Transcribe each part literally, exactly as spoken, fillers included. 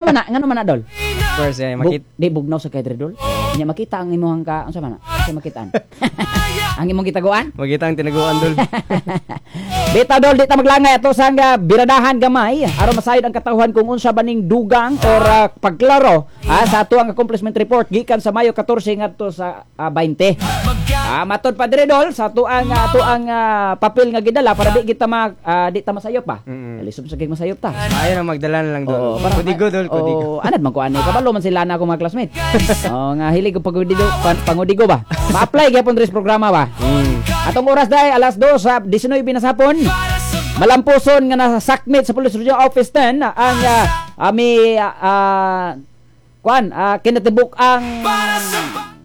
Man na, ngano man na, dol? Of course, eh, Bu- makit di bugnaw sa kay dol. Nya makita ang imong ka, unsa man na? Unsa makitaan? Ang imong gitaguan? Makita ang tinaguan, dol. Bitaw, dol, di ta maglangay ato sa nga biradahan gamay aron masayod ang katawhan kung unsa ba ning dugang or ah, pagklaro ah, sa ato ang accomplishment report gikan sa Mayo katorse ngadto sa ah, baynte. Ah, matod pa dire, dol, sa ato ang ato ang ah, papel nga gidala para di kita ma ah, di ta masayop pa. Mm-mm. Lisod sa kay masayop ta. Ayaw na magdala na lang, dol. Oo, para Kodigo, dol, kodigo. Oo, anad man ko ani. Kabalo man sila na ako mga classmate. Oo, nga hilig ko pagudigo, pan, pangudigo ba. Ma-apply gyapon diri sa programa ba. Mm. Atong oras dahil alas dos sa disnuebe na sa hapon. Malampuson nga nasakmit sa Police Regional Office ten ang uh, ami uh, kuan uh, kinatibuk ang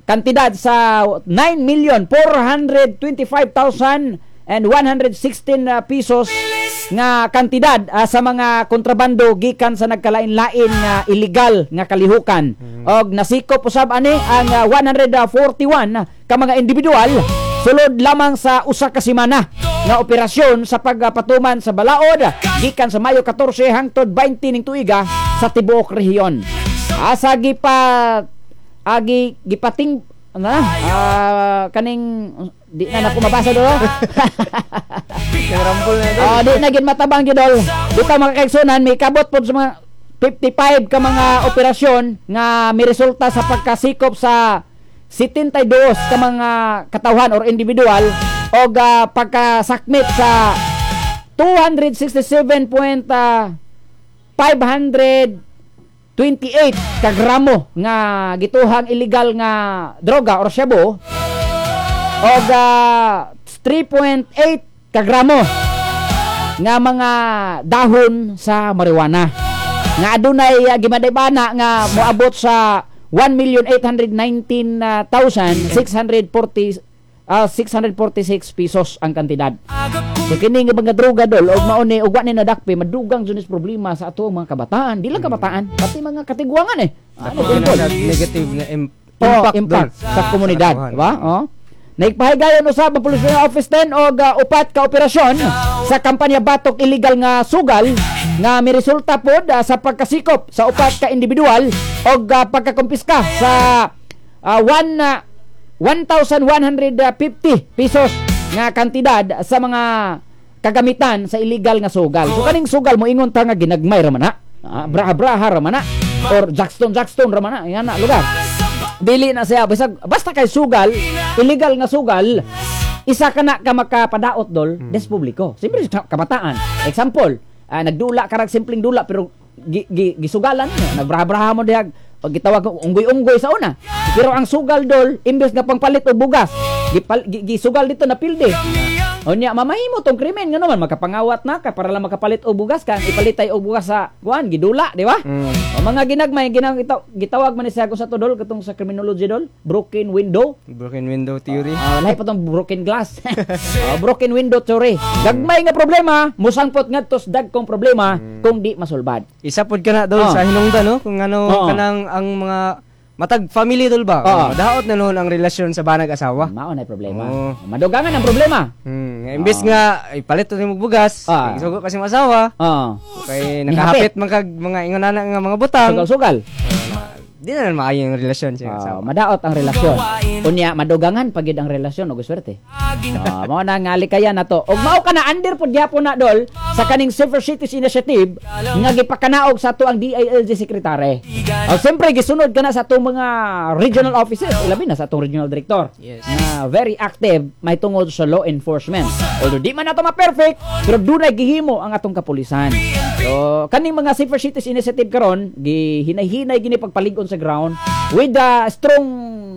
kantidad sa nine million four hundred twenty-five thousand and one hundred sixteen uh, pesos nga kantidad ah, sa mga kontrabando gikan sa nagkalain-lain nga illegal nga kalihukan. Og nasikop usab ani ang ah, one hundred forty-one ka mga individual sulod lamang sa usa ka semana nga operasyon sa pagpatuman sa balaod gikan sa Mayo katorse hangtod baynte ning tuiga sa tibuok rehiyon. Asa gipa agi gipating ano na ah, kaning di na nako mabasa do. Nang na, dol. Ah, di na gid matabang gyud, dol. Dito, mga kaigsunan, may kabot pod sa mga fifty-five ka mga operasyon nga may resulta sa pagkasikop sa seventy-two ka mga katawhan or individual og ah, pagkasakmit sa two hundred sixty-seven point five two eight ka gramo nga gituhang illegal nga droga or shabu og ah, three point eight ka gramo nga mga dahon sa marijuana nga adunay uh, gimadibana nga moabot sa one million eight hundred nineteen thousand six hundred forty ah, six hundred forty-six pesos ang kantidad. So kini nga mga droga, dol, og mao ni og wa ni nadakpi, madugang jud ni problema sa ato mga kabataan, di lang kabataan, pati mga katiguangan eh. Ano Dako dol? na negative na im- Oh, impact, impact dol. sa komunidad, katuhan. di ba? Oh. Naigpahigayon usab ang Police Regional Office ten og uh, upat ka operasyon sa kampanya batok illegal nga sugal nga miresulta pod uh, sa pagkasikop sa upat ka individual og uh, pagkakumpiska sa uh, one, uh, one thousand one hundred fifty pesos nga kantidad sa mga kagamitan sa illegal nga sugal. So kaning sugal mo ingon ta nga ginagmay ra man na. Ah, braha-braha ra man na or jackstone jackstone ra man na, yan na lugar. Dili na siya basta, basta kay sugal, illegal nga sugal, isa ka na ka makapadaot, dol, hmm. des publiko. Siyempre sa kabataan. Example, ah, nagdula ka rag simpleng dula pero gi, gi, gisugalan mo, nagbraha-braha mo dihag o gitawag ko unggoy-unggoy sa una. Pero ang sugal, dol, imbes nga pangpalit og bugas, gipal, gi, gisugal dito na pilde. Unya mamahimo tong krimen nga naman makapangawat na ka para lang makapalit og bugas ka, ipalitay og bugas sa kuan gidula, di ba? Mm. O mga ginagmay ginang itaw, gitawag man ni siya kung sa to, dol, katong sa criminology, dol, broken window. Broken window theory. Ah, lahi pa tong broken glass. Ah, broken window theory. Gagmay nga problema, musangpot ngadto sa dagkong problema kung di masulbad. Isa pod ka na, dol, Oh. sa hinungdan, no, kung ano Oo. kanang ang mga matag family, dol, ba. Oo. Daot na noon ang relasyon sa banag asawa. Mao na problema. Oo. Madugangan ang problema. Hmm, imbes nga ipalit to nimo bugas, Ah. isugo kasi imong asawa, Oh. kay Nihapit. nakahapit man kag mga ingon ana nga mga butang. Sugal-sugal. Di na lang maayo yung relasyon sa Ah, asawa. Madaot ang relasyon. Unya madugangan pagid ang relasyon og swerte. Ah, mao na nga likayan na to. Og mao ka na under pud gyapon na, dol, sa kaning Safer Cities Initiative nga gipakanaog sa ato ang D I L G secretary. Og siyempre gisunod ka na sa atong mga regional offices, ilabi na sa atong regional director. Yes. Nga very active may tungod sa law enforcement. Although di man nato ma-perfect, pero dunay gihimo ang atong kapulisan. So, kaning mga Safer Cities Initiative karon, gihinay-hinay gini pagpalig-on sa ground with the strong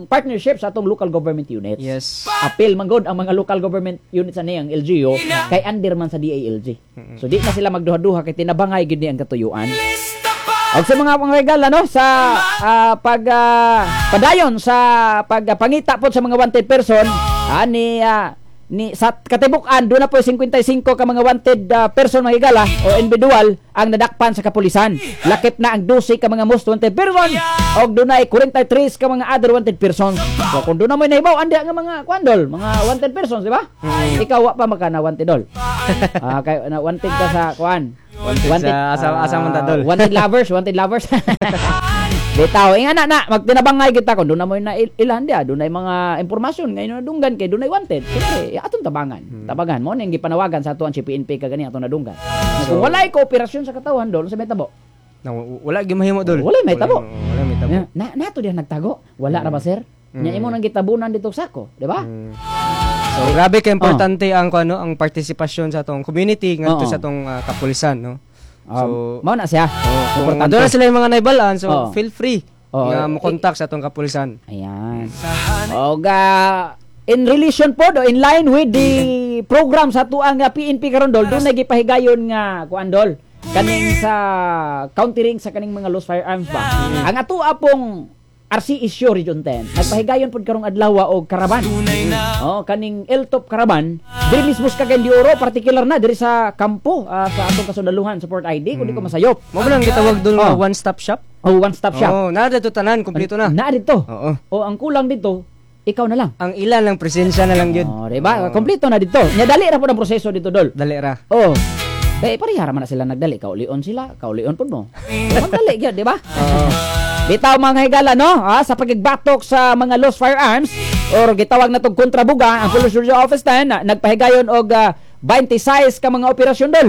partnership sa atong local government units. Yes. Apil man gud ang mga local government units ani ang L G U kay under man sa D I L G. So di na sila magduha-duha kay tinabangay gid ni ang katuyuan. Og sa mga pangregala no sa ah, pag ah, padayon sa pagpangita pod sa mga wanted person ani ah, Ni sa katibuk-an duna po singkwenta y singko ka mga wanted uh, person, mga higala, o individual ang nadakpan sa kapulisan. Lakip na ang dose ka mga most wanted person og dunay kwarenta y tres ka mga other wanted persons. So kung duna mo nahibaw andi nga mga kuan, dol, mga wanted persons, di ba? Ikaw wa pa maka na wanted, dol. Ah, kay na wanted ka sa kuan. Wanted sa asa- asa man ta, dol? Wanted lovers, wanted lovers. Bitaw, inga na na magtinabangay kita kung duna mo na il- ilan dia, dunay mga impormasyon ngayon nadunggan kay dunay wanted. Siyempre, atong tabangan. Hmm. Tabangan mo ning gipanawagan sa atuang si P N P kagani atong nadunggan. So, kung walay kooperasyon sa katawhan, dol, sa may tabo? Na, wala gyud mahimo, dol. Wala may tabo. Wala may tabo. Na, na nato diha nagtago. Wala ra ba, sir? Nya imo nang gitabunan dito sa sako, di ba? Mm. So grabe ka importante ang ano, ang partisipasyon sa atong community ngadto Oo. sa atong ah, kapulisan, no. So Um, mao na siya. kung Importante. aduna sila yung mga naibalaan, so Oo. feel free Oo. nga mo contact sa atong kapulisan. Ayan. Oga, in relation po do, in line with the program sa tuang nga P N P karon, dol, dunay gipahigayon nga kuan, dol, kaning sa countering sa kaning mga loose firearms ba. Ang ato pong R C issue Region ten, nagpahigayon pod karong adlaw og caravan. Oh, kaning L T O P caravan, diri mismo sa Cagayan de Oro, particular na diri sa kampo ah, sa atong kasundaluhan support I D kung di ko masayop. Mo ba lang gitawag dol nga Oh. one stop shop? Oh, one stop shop. Oh, naa dito tanan, kompleto na. Naa dito. Oo. O ang kulang dito, ikaw na lang. Ang ilan lang presensya na lang gyud. Oh, di ba? Kompleto na dito. Nya dali ra po ang proseso dito, dol. Dali ra. Oh. Kay pareha ra man na sila nagdali, kaulion sila, kaulion pud mo. Magdali gyud, di ba? Oo. Bitaw, mga higala, no, ha, sa pagigbatok sa mga lost firearms or gitawag na tong kontrabuga, ang Police Regional Office ten na, nagpahigayon og ah, twenty-six ka mga operasyon, dol.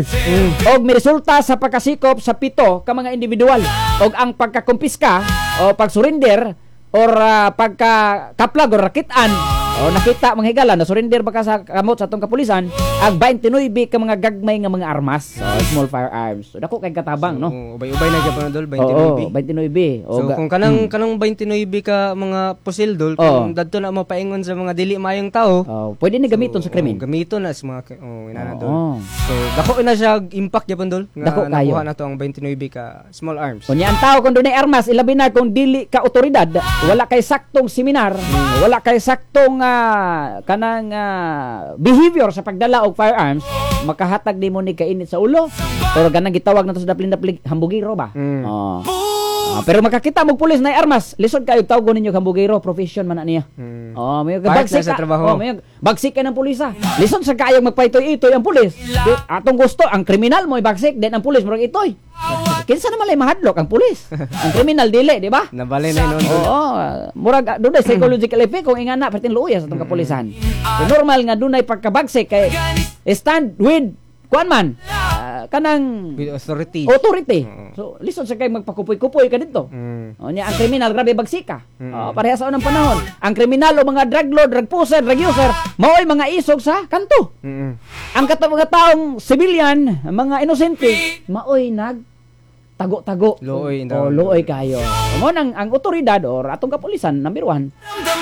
Og miresulta sa pagkasikop sa pito ka mga individual og ang pagkakumpiska o pagsurrender or ah, pagka kaplag or rakitan o nakita, mga higala, na surrender ba ka sa kamot sa atong kapulisan ang twenty-nine ka mga gagmay nga mga armas, so, small firearms. So dako kay katabang, no? Oo, ubay-ubay na gyapon, dol, Oo, twenty-nine. twenty-nine. So O, ga- kung kanang kanang twenty-nine ka mga pusil, dol, Oo. kung dadto na mo paingon sa mga dili maayong tao, Oh, pwede ni gamiton sa krimen. Oh, gamiton na sa mga oh, inana, dol. Oo. So dako na siya impact gyapon, dol, nga Dako kayo. nakuha na to ang twenty-nine ka small arms. Unya ang tao kung dunay armas, ilabi na kung dili ka otoridad, wala kay saktong seminar, wala kay saktong ah, kanang ah, behavior sa pagdala og firearms, makahatag di mo ni kainit sa ulo. Pero ganang gitawag na to sa daplin-daplig hambugiro ba? Mm. Oh. Ah, pero makakita mo pulis na armas, lisod kayo tawgon ninyo hambugiro, profession man na niya. Mm. Oh, may Part bagsik na sa ka- trabaho. Oh, may bagsik ka ng pulis ah. Lisod sa kayong magpaitoy-itoy ang pulis. Di, atong gusto ang kriminal mo ibagsik, then ang pulis murag itoy. Kinsa naman lay mahadlok ang pulis? Ang kriminal dili, di ba? Nabali na yun, dol. Oo, ah, murag ah, dunay psychological effect kung ingana perting luoya sa atong kapulisan. So, normal nga dunay pagkabagsik kay stand with kuan man ah, kanang With authority. Authority. Oo. So lisod sa kay magpakupoy-kupoy ka dito. Mm. O niya ang kriminal grabe bagsika. Mm. O, pareha sa unang panahon. Ang kriminal o mga drug lord, drug pusher, drug user, mao'y mga isog sa kanto. Mm. Ang kato mga taong civilian, mga inosente, maoy nag tago-tago. Luoy O daw. luoy kayo. Mo nang ang otoridad or atong kapulisan number one,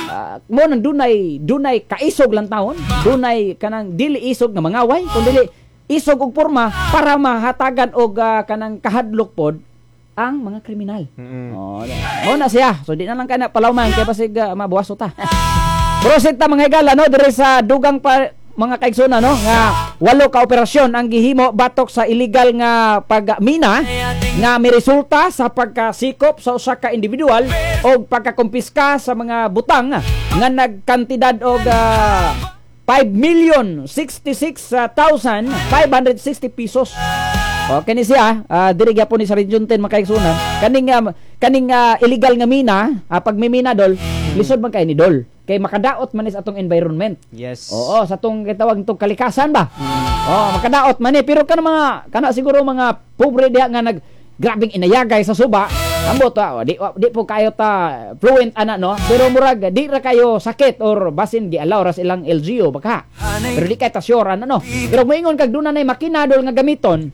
ah, mo nang dunay dunay kaisog lang taon, dunay kanang dili isog nga mangaway, kun dili isog og porma para mahatagan og ah, kanang kahadlok pod ang mga kriminal. Mm. Oh, mo na siya. So di na lang kana palawman kay basig uh, mabuwaso ta. Proceed ta, mga higala, no, diri sa dugang pa mga kaigsoona, no, nga walo ka operasyon ang gihimo batok sa illegal nga pagmina nga miresulta sa pagkasikop sa usa ka individual og pagkakumpiska sa mga butang nga nagkantidad og ah, five million sixty-six thousand five hundred sixty pesos. O kini siya, uh, diri gyapon ni sa Region ten, mga kaigsunan. Kaning um, kaning ah, illegal nga mina, uh, pag may mina, dol, lisod man kay ni, dol. Kay makadaot man ni sa atong environment. Yes. Oo, sa atong gitawag itong kalikasan ba? Oo, makadaot man ni pero kana mga kana siguro mga pobre diha nga nag grabing inayagay sa suba. Ambot ah, di di po kayo ta fluent ana, no? Pero murag di ra kayo sakit or basin gi-allow ra sa ilang L G U baka. Pero di kay ta sure ano, no. Pero moingon kag duna nay makina, dol, nga gamiton,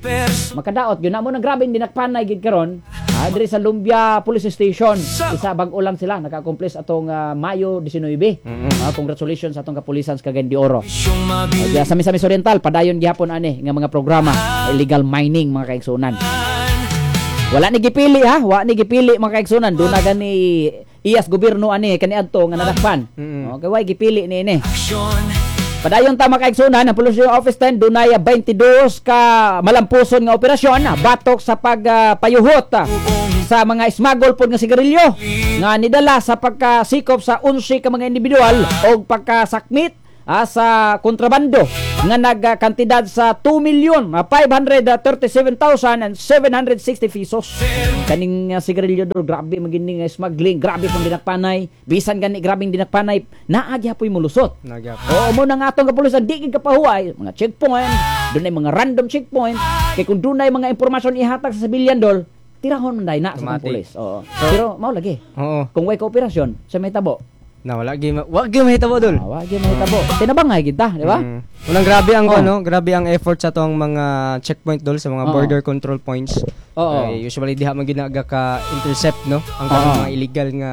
makadaot gyud na mo nang grabe dinakpanay gid karon. Ah, diri sa Lumbia Police Station, isa bag-o lang sila naka-accomplish atong ah, Mayo nineteen. Ah, congratulations sa atong kapulisan sa Cagayan de Oro. Uh, sa Misamis Oriental, padayon gihapon ani nga mga programa illegal mining, mga kaigsunan. Wala ni gipili ha, wa ni gipili, mga kaigsunan, duna gani iyas gobyerno ani kaniadto nga nadakpan. Mm. Okay, way gipili ni ini. Padayon ta, mga kaigsunan, ang Police Regional Office ten dunay twenty-two ka malampuson nga operasyon ah, batok sa pagpayuhot ah, sa mga smuggle pod nga sigarilyo nga nidala sa pagkasikop sa eleven ka mga individual o pagkasakmit ah, sa kontrabando nga nagkantidad sa two million ah, five hundred thirty-seven thousand seven hundred sixty pesos. Kaning uh, sigarilyo dol, grabe magini nga smuggling, grabe pong dinakpanay. Bisan gani grabing dinakpanay, naa gyapoy mulusot. Nagyap. Oo, mo na nga atong kapulisan di gid kapahuway, mga checkpoint, dunay mga random checkpoint, kay kung dunay mga impormasyon ihatag sa civilian dol, tirahon man day na sa atong Automatic. pulis. Oo. Pero mao lagi. Oo. Kung way kooperasyon, sa may tabo. Na wala gi wa gi mahitabo dol. Ah, wa gyud mahitabo. Tinabangay gid ta, di ba? Mm. Unang grabe ang Oh. ano, grabe ang effort sa atong mga checkpoint dol, sa mga Oo. border control points. Oo. Kay usually diha man gid ka intercept no ang Oo. kanang mga illegal nga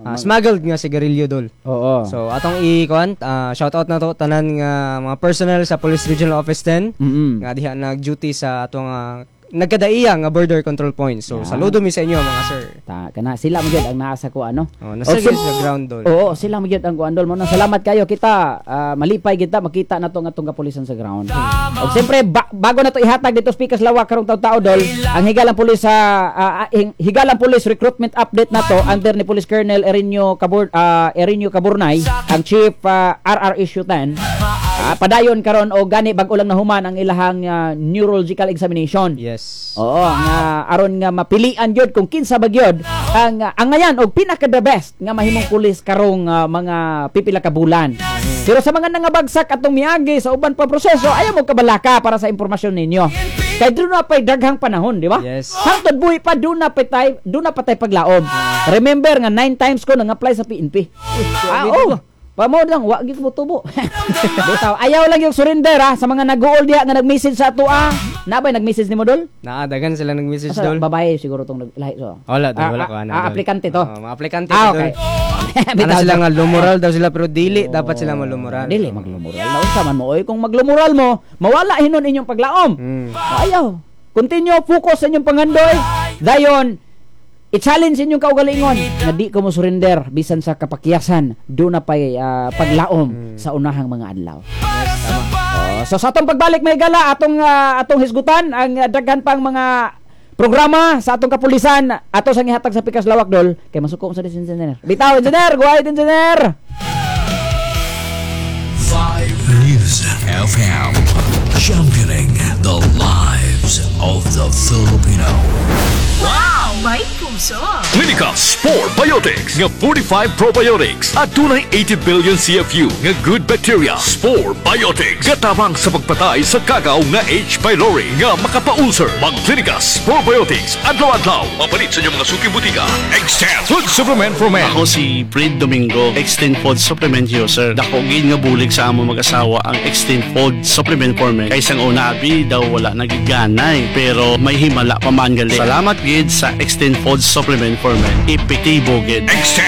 ah, smuggled nga sigarilyo dol. Oo. So atong i-kuan, ah, shout out na to tanan nga mga personnel sa Police Regional Office ten Mm. nga diha nag-duty sa atong ah, nagkadaiya nga border control points. So Yeah. saludo mi sa inyo, mga sir. Ta kana sila mo gyud ang naa sa kuan no. Oh, nasa O, sim- sa ground dol. Oo, sila mo gyud ang kuan dol mo. Salamat kayo kita. ah, malipay kita makita na to nga atong kapulisan sa ground. Og siyempre ba- bago na to ihatag dito speakers lawak karong taw-tao dol, ang higalang pulis sa ah, ah, hing- higalang police recruitment update na to under ni Police Colonel Erinio Cabur ah, Erinio Caburnay, ang Chief ah, R R Issue ten. Ah, padayon karon o gani bag-o lang nahuman ang ilahang ah, neurological examination. Yes. Oo, nga aron nga mapilian gyud kung kinsa ba gyud ang uh, angayan og pinaka the best nga mahimong pulis karong ah, mga pipila ka bulan. Pero sa mga nangabagsak atong miagi sa uban pa proseso, ayaw mo kabalaka para sa impormasyon ninyo. Kay duna pay daghang panahon, di ba? Yes. Hangtod buhi pa duna pa tay duna pa tay paglaom. Remember nga nine times ko nang apply sa P N P. Ah, oh. Pamo lang, wa gyud mo tubo. Bitaw, ayaw lang yung surrender ha sa mga nag-uol diha nga nag-message sa ato ah. Nabay nag-message ni mo dol? Naa dagan sila nag-message Asa, dol. babae siguro tong nag lahi so. Wala dol, Ah, wala ah, ko ana. ah, dol. aplikante to. Oo, mga aplikante Ah, to, okay. dol. Ana Bitaw, sila dol. nga lumural daw sila pero dili dapat sila malumural. Dili maglumural. Naunsa man mo oy kung maglumural mo, mawala hinon inyong paglaom. Mm. Ayaw. Continue focus sa inyong pangandoy. Dayon i-challenge inyong kaugalingon nga di ko mo surrender bisan sa kapakyasan, duna pay ah, paglaom sa unahang mga adlaw. Yes, tama. Oh, so sa atong pagbalik may gala atong ah, atong hisgutan ang ah, daghan pang mga programa sa atong kapulisan ato sang ihatag sa Pikas Lawak dol kay masuko sa engineer. Bitaw engineer, go ahead, engineer. News F M, championing the lives of the Filipino. May puso. Clinica Spore Biotics nga forty-five probiotics at dunay eighty billion C F U nga good bacteria. Spore Biotics katabang sa pagpatay sa kagaw nga H. pylori nga makapa-ulcer. Mag Clinica Spore Biotics adlaw-adlaw. Mapalit sa inyong mga suking butika. Extend Food Supplement for Men. Ako si Fred Domingo, Extend Food Supplement user. Dako gid nga bulig sa amo mag-asawa ang Extend Food Supplement for Men. Kay sang una abi daw wala nagiganay, pero may himala pa man gali. Salamat gid sa Extend Food Supplement for Men. Epektibo gid. Extend